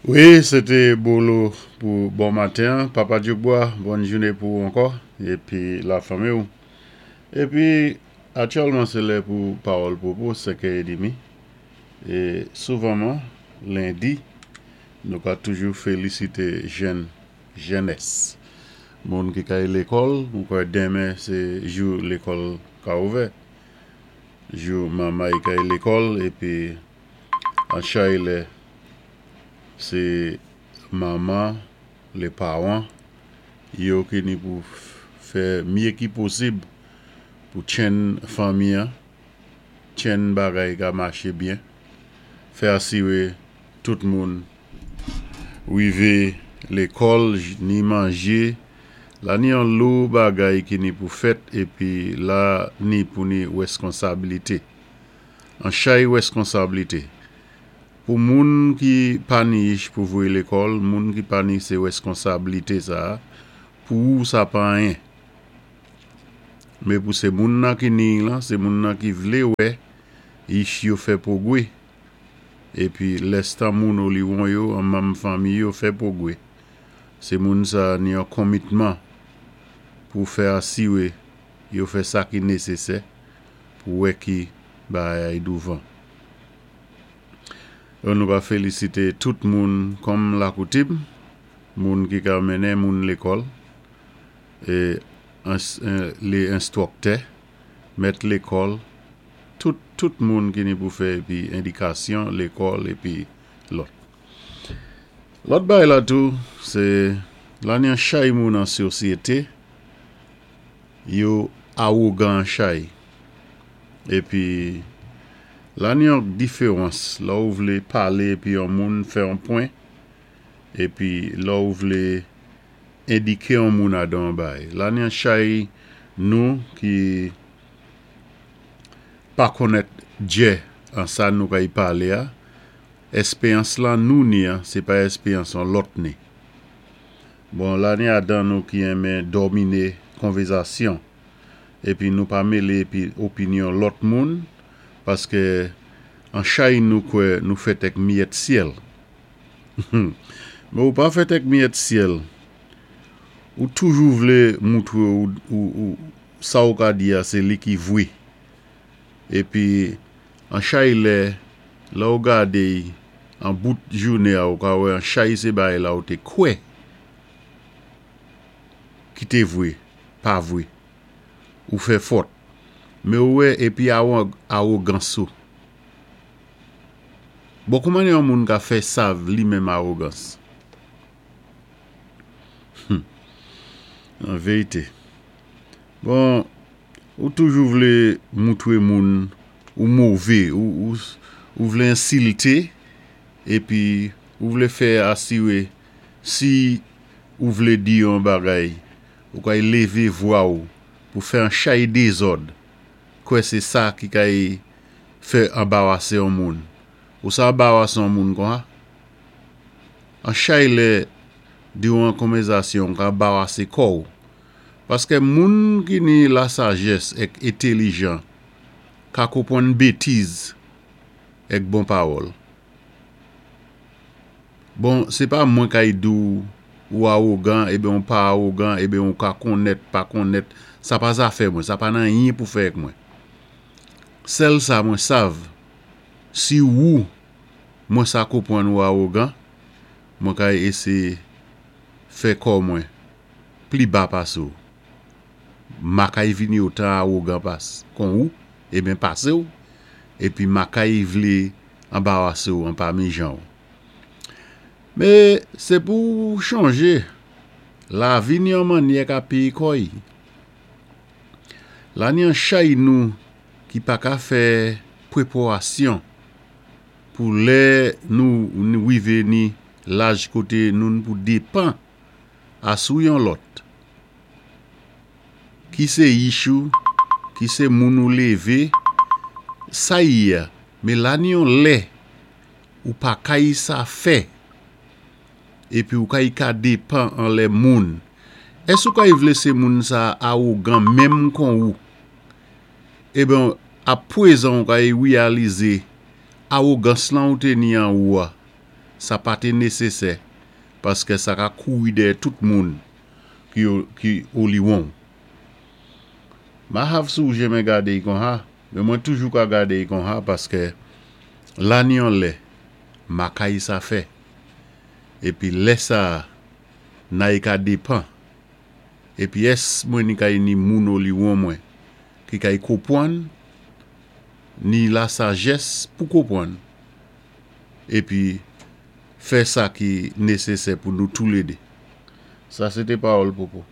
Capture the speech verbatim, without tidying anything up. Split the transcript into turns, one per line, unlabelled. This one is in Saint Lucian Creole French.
Wi, sé té Bolo pou bon maten. Papa Djoubois, bòn jouné pou ou ankò, épi lafanmi ou. Épi, aktyèlman sé lè pou Pawòl Pwopo, senkè édmi. É souvanman, lendi, nou ka toujou félisité jèn, jènès. Moun ki kay lékòl, mwen kwè denmen sé jou lékòl ka ouvè. Jou manmay kay lékòl, épi an chay lè, sé manman, lé pawan, yo ki ni pou fè mye ki posib pou tjenn fanmi an, tjenn bagay ka maché byen, fè asiwé tout moun wivé lékòl, ni manjé, la ni yon lou bagay ki ni pou fèt, épi la ni pou ni wèskonsabilité. An chay wèskonsabilité. Pou moun ki pa ni ich pou voyé lékòl, moun ki pa ni sé wèskonsabilité sa, pou ou sa pa anyen. Mé pou sé moun nan ki ni lan, sé moun nan ki vlé wè, ich yo fè pwogwé. Épi lèstan moun oliwon yo, an manm fanmi yo fè pwogwé. Sé moun sa ni yon konmitman pou fè asiwé yo fè sa ki nésésè pou wè ki bagay douvan. Nou ka félisité tout moun kòm lakoutim, moun ki ka mennen moun lékòl, é lé enstwiktè, mèt lékòl, tout, tout moun ki ni pou fè épi édikasyon lékòl épi lòt. Lòt bagay la tou, sé la ni an chay moun an sosyété, yo awogan an chay. Épi la ni yon diféwans, lè ou vlé palé épi yon moun fè yon pwen, épi lè ou vlé endiké yon moun adan yon bagay. La ni an chay nou ki pa konnèt djè an sa nou kay palé a, èspéyans lan nou ni an, sé pa èspéyans an lòt ni. Bon, la ni adan nou ki enmen dominé konvèzasyon, épi nou pa mélé épi opinyon lòt moun, paské an chay nou kwè nou fèt èk miyèt syèl. Mé ou pa fèt èk miyèt syèl, ou toujou vlé moutwé ou, ou, ou sa ou ka di a sé li ki vwé. Épi an chay lè, lè ou gadé an bout jouné a ou ka wè an chay sé bagay la ou té kwè ki té vwé, pa vwé. Ou fè fòt. Mé ou wè épi awogans ou. Bon, kouman yon moun ka fè sav li menm awogans? Hum. An vérité. Bon, ou toujou vlé moutwé moun ou mové, ou, ou, ou vlé ensilté, épi ou vlé fè asiwé si ou vlé di yon bagay, ou kay lévé vwa ou pou fè an chay dézòd, kwè sé sa ki kay fè anbawasé yon moun. Ou sa anbawasé yon moun kon ha? An chay lè di ou an konvèzasyon ka anbawasé kò ou. Paské moun ki ni lasajès èk entelijan ka konpwann bétiz èk bon pawòl. Bon, sé pa mwen kay di ou ou awogan, eben ou pa awogan, eben ou ka konnèt, pa konnèt, sa pa zafè mwen, sa pa nan anyen pou fè èk mwen. Sèl sa mwen sav, si ou mwen sa konpwann ou awogan, mwen kay éséyé fè kò mwen pli ba pasé ou. Ma kay vini otan awogan pas kon ou, eben pasé ou, épi ma kay vlé anbawasé ou an pami jan ou. Mé sé pou chanjé, lavi ni yon mannyè ka péyé kò'y. La ni an chay nou ki pa ka fè pwépwasyon pou lè nou wivé ni laj koté nou pou dépan asou yon lòt. Ki sé ich ou, ki sé moun ou lévé, sa yé a, mé la ni yon lè ou pa kay sa fè, épi ou kay ka dépan an lè moun. Ès ou kay vlé sé moun sa awogan menm kon ou? Eben, apwézan ou kay wéyalizé awogans lan ou té ni an ou a, Sa pa té nésésè paskè sa ka kouri dèyè tout moun ki ki oliwon. Ma hav si ou jenmen gadé'y konsa, men mwen toujou ka gadé'y konsa paskè la ni yon lè makay sa fè. Épi lè sa nay ka dépan. Épi ès mwen ni kay ni moun oliwon mwen ki kay konpwann ni la sajès pou konpwann épi fè sa ki nésésè pou nou toulédé. Sa sé té pawòl pwopo.